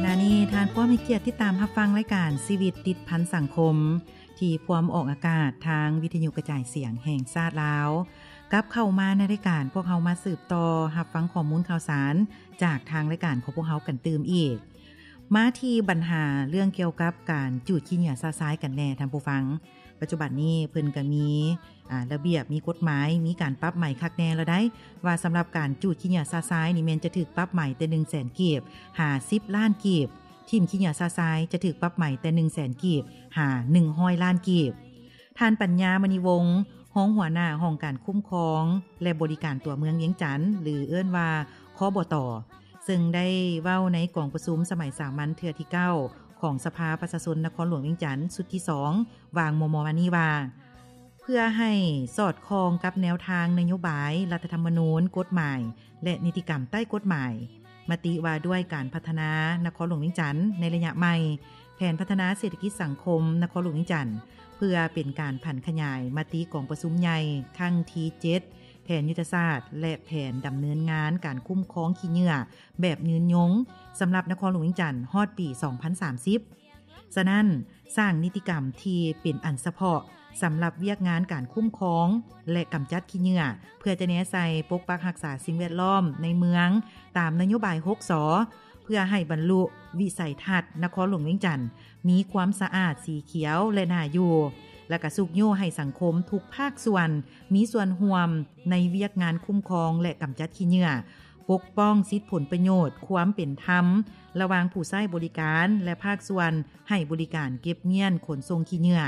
ຂະນະນີ້ທ່ານພວມໃຫ້ກຽດຕິດຕາມຮັບຟັງລາຍການຊີວິດຕິດພັນສັງຄົມ ທີ່ພວມອອກອາກາດທາງວິທະຍຸກະຈາຍສຽງແຫ່ງຊາດລາວ. ກັບເຂົ້າມາໃນລາຍການ, ພວກເຮົາມາສືບຕໍ່ຮັບຟັງຂໍ້ມູນຂ່າວສານຈາກທາງລາຍການຂອງພວກເຮົາກັນຕື່ມອີກ. ມາທີ່ບັນຫາເລື່ອງກ່ຽວກັບການຈູດຂີ້ເຫຍື້ອຊະຊາຍກັນແດ່ທ່ານຜູ້ຟັງ. ປັດຈຸບັນນີ້ເພິ່ນກໍມີ ອາ ລະບຽບ, ມີກົດໝາຍ, ມີການປັບໃໝຄັກແນ່ແລ້ວໃດ໋ ວ່າສຳລັບການຈູດຂີ້ເຫຍື້ອຊະຊາຍນີ້ແມ່ນຈະຖືກປັບໃໝແຕ່ໜຶ່ງແສນກີບຫາສິບລ້ານກີບ, ຖິ້ມຂີ້ເຫຍື້ອຊະຊາຍຈະຖືກປັບໃໝແຕ່ໜຶ່ງແສນກີບຫາໜຶ່ງຮ້ອຍລ້ານກີບ. ທ່ານ ປັນຍາ ມະນີວົງ ຮອງຫົວໜ້າຫ້ອງການຄຸ້ມຄອງ ແລະ ບໍລິການຕົວເມືອງວຽງຈັນ ຫຼື ເອີ້ນວ່າ ຄບຕ ເຊິ່ງໄດ້ເວົ້າໃນກອງປະຊຸມສະໄໝສາມັນເທື່ອທີເກົ້າ ຂອງສະພາປະຊາຊົນນະຄອນຫຼວງວຽງຈັນ ຊຸດທີສອງ ວ່າງມໍ່ໆມານີ້ວ່າ ເພື່ອໃຫ້ສອດຄ່ອງກັບແນວທາງນະໂຍບາຍ, ລັດຖະທຳມະນູນ, ກົດໝາຍ ແລະ ນິຕິກຳໃຕ້ກົດໝາຍ, ມະຕິວ່າດ້ວຍການພັດທະນານະຄອນຫຼວງວຽງຈັນໃນໄລຍະໃໝ່, ແຜນພັດທະນາເສດຖະກິດສັງຄົມນະຄອນຫຼວງວຽງຈັນ ເພື່ອເປັນການຜັນຂະຫຍາຍມະຕິກອງປະຊຸມໃຫຍ່ຄັ້ງທີເຈັດ ແຜນຍຸດທະສາດ ແລະ ແຜນດຳເນີນງານການຄຸ້ມຄອງຂີ້ເຫຍື້ອແບບຍືນຍົງ ສຳລັບນະຄອນຫຼວງວຽງຈັນຮອດປີສອງພັນສາມສິບ. ສະນັ້ນ, ສ້າງນິຕິກຳທີ່ເປັນອັນສະເພາະສຳລັບວຽກງານການຄຸ້ມຄອງ ແລະ ກຳຈັດຂີ້ເຫຍື້ອ ເພື່ອຈະແນໃສ່ປົກປັກຮັກສາສິ່ງແວດລ້ອມໃນເມືອງ ຕາມນະໂຍບາຍຫົກ ສ ເພື່ອໃຫ້ບັນລຸວິໄສທັດນະຄອນຫຼວງວຽງຈັນ ມີຄວາມສະອາດ, ສີຂຽວ ແລະ ໜ້າຢູ່, ແລະ ກະຊຸກຍູ້ໃຫ້ສັງຄົມທຸກພາກສ່ວນມີສ່ວນຮ່ວມໃນວຽກງານຄຸ້ມຄອງ ແລະ ກຳຈັດຂີ້ເຫຍື້ອ, ປົກປ້ອງສິດຜົນປະໂຫຍດ, ຄວາມເປັນທຳລະຫວ່າງຜູ້ໃຊ້ບໍລິການ ແລະ ພາກສ່ວນໃຫ້ບໍລິການເກັບມ້ຽນຂົນສົ່ງຂີ້ເຫຍື້ອ,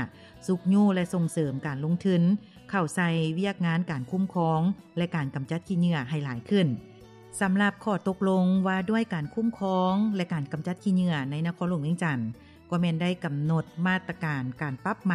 ຊຸກຍູ້ ແລະ ສົ່ງເສີມການລົງທຶນເຂົ້າໃສ່ວຽກງານການຄຸ້ມຄອງ ແລະ ການກຳຈັດຂີ້ເຫຍື້ອໃຫ້ຫຼາຍຂຶ້ນ. ສຳລັບຂໍ້ຕົກລົງວ່າດ້ວຍການຄຸ້ມຄອງ ແລະ ການກຳຈັດຂີ້ເຫຍື້ອໃນນະຄອນຫຼວງວຽງຈັນ ກໍແມ່ນໄດ້ກຳນົດມາດຕະການການປັບໃໝ